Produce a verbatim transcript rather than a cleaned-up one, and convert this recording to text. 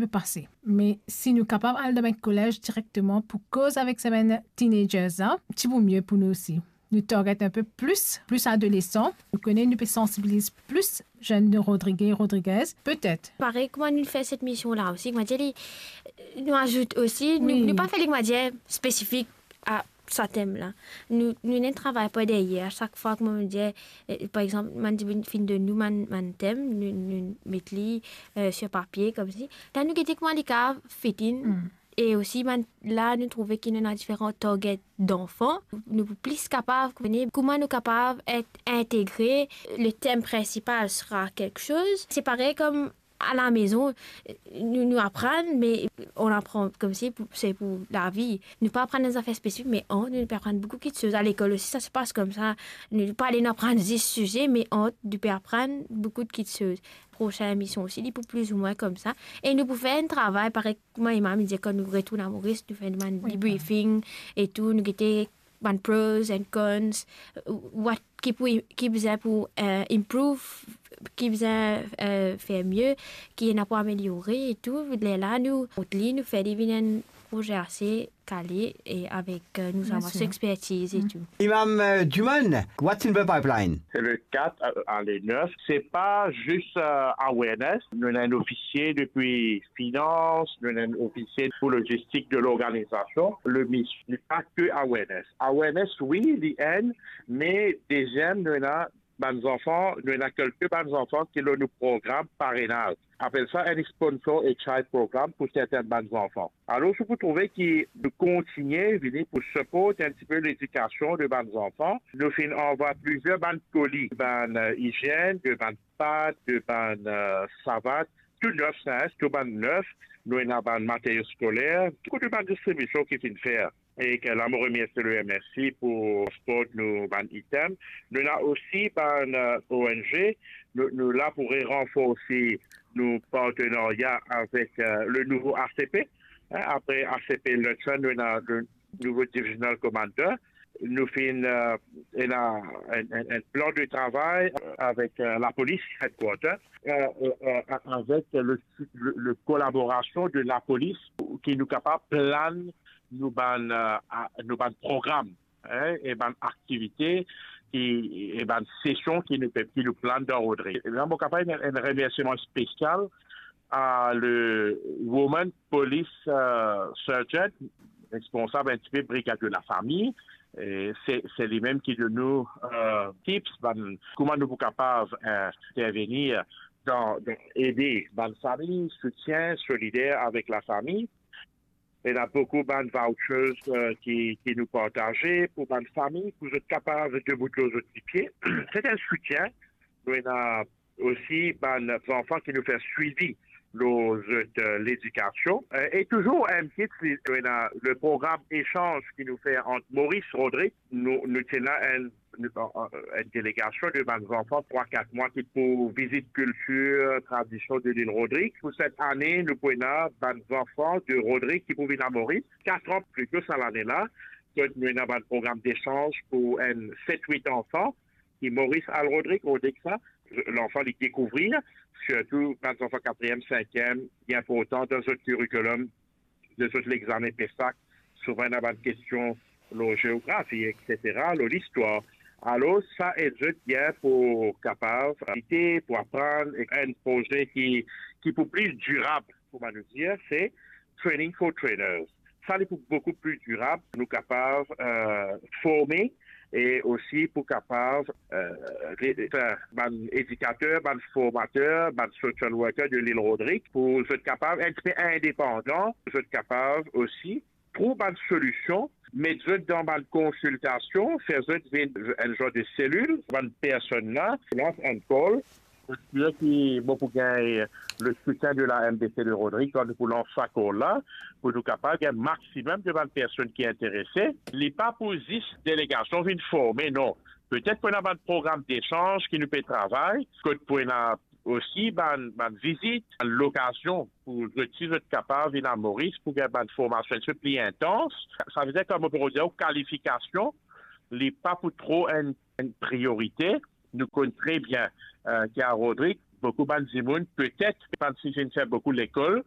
pe pase. Me si nou kapav al dan bann kolez direkteman pou koz avek sa bann teenagers la, ti pou mie pou nou osi. Nou target inpe plis, plis adolesan. Nou kone nou pe sansibiliz plis zenn Rodrige, Rodriguez, petet. Parey kouma nou fer set mision la osi, kouma dir li, nou azout osi, nou, Wi. nou pa fer li, kouma dir, spesifik a sa tem la. Nou, nou ena travay par deryer, sak fwa, kouma nou dir, eh, par exanp, bann dimoun finn donn nou bann, bann tem, nou, nou met li, eh, sir papie, koumsi. La nou gete kouma li kapav fit in. Mm. E osi, bann, la nou trouve ki nou ena diferan target danfan. Nou pou plis kapav kone kouma nou kapav et integre, le tem prinsipal sera quelque chose. Se parey kom a la maison, nou, nou aprann, me on aprann koumsi pou, se pou lavi. Nou pa aprann enn zafer spesifik, me ant nou, nou pe aprann boukou kitsoz. A lekol osi, sa se pas koumsa. Nou pa ale nou aprann zis size, me ant nou pe aprann boukou de kitsoz. Prosin emision osi, li pou plizoumwin koumsa. E nou pou fer enn travay parey kouma Emma inn dir, kan nou retourn a Moris, nou fer bann Wi. debriefing e tou, nou gete bann pros and cons, what ki pou, ki bizin pou, eh, improve, ki bizin, eh, fer mie, ki ena pou ameliore e tou. Lerla nou mont li, nou fer li vinn enn proze ase kale e avek, eh, nou Bien zamas sir. expertiz e Mm. tou. Imam, eh, Duman, what's in the pipeline? C'est le quatre à, à le neuf. C'est pas juste, euh, awareness. Nous avons un officier depuis finance, nous avons un officier pour logistique de l'organisation. Le mission n'est pas que awareness. Awareness, wi, li enn, me deziem, nou ena bann zanfan, nou ena kelke bann zanfan ki lor nou program parenaz. Apel sa enn sponsor a child program pou sertin bann zanfan. Alor, si pou trouve ki nou kontigne vini pou siport enn tipe ledikasion de bann zanfan, nou finn anvway plizier bann koli, bann, eh, izienn, de bann pat, de bann, eh, savat, tou nef, sa, tou bann nef, nou ena bann materio skoler, boukou de bann distribision ki finn fer. E ke la, mo remersie le M R C pou siport nou bann item. Nou ena osi bann, eh, O N G, nou, nou la pou re-ranforse nou partenarya avek, eh, le nouvo A C P. Hein, apre A C P Luncheon, nou ena le nouvo Divisional Commander. Nou finn, eh, ena enn, enn, enn plan de travay, eh, avek, eh, lapolis headquarter, eh, eh, eh, avek le, le, le kolaborasion de lapolis ki nou kapav plan nou bann, eh, a-, nou bann program, hein, e bann aktivite ki, e bann sesion ki nou pe, ki nou plan dan Rodrig. E la, mo kapav enn, enn remersiman spesial a le Woman Police, eh, Sergeant, responsab enn tipe brigad de lafami. E se, se li mem ki donn nou, eh, tips, bann, kouma nou pou kapav, eh, intervenir dan, dan ede bann fami, soutien solider avek lafami. Ena boukou bann vouchers, eh, ki, ki nou partaze pou bann fami, pou zot kapav debout lor zot lipie. Se enn soutien. Nou ena osi bann zanfan ki nou fer swivi lor zot, eh, ledikasion. Eh, e touzour enn kit, nou ena le program esanz ki nou fer ant Moris, Rodrig. Nou, nou ti ena enn, enn, enn delegasion de bann zanfan trwa, kat mwa ki pou vizit kiltir, tradision de lil Rodrig. Pou set ane, nou pou ena bann zanfan de Rodrig ki pou vinn a Moris. Kat an pli to sa lane la, kot nou ena bann program desanz pou enn set, wit anfan, ki Moris al Rodrig, Rodrig sa, lanfan li dekouvrir, sirtou bann zanfan katriem, sinkiem, li inportan dan zot kurikulom, de zot lexame PESAC, souvan ena bann kestion lor zeografi, et cetera, lor listwar. Alor, sa ed zot bien pou kapav lite, pou aprann, e enn proze ki, ki pou pli dirab, kouma nou dir, se Training for Trainers. Sa, li pou boukou pli dirab, nou kapav, eh, forme e osi pou kapav, eh, re-, fer bann edikater, bann formater, bann social worker de lil Rodrig, pou zot kapav enn tipe indepandan, zot kapav osi trouv bann solision, met zot dan bann konsiltasion, fer zot vinn enn zor de selil, bann personn la, lans enn call, pou sir ki mo pou gagn le soutien de la M D C de Rodrig, kan nou pou lans sa call la, pou nou kapav gagn maximum de bann personn ki interese. Li pa pou zis delegasion vinn forme, non. Petet pou ena bann program desanz ki nou pe travay, kot pou ena osi bann, bann vizit, bann lokazion pou zot, si zot kapav vinn a Moris pou gagn bann formasion enn tipe pli intans. Savedir, kouma mo pe dir, kalifikasion, li pa pou tro enn, enn priorite. Nou konn tre bien, eh, ki a Rodrig, boukou bann dimoun, petet, pa ti finn fer boukou lekol,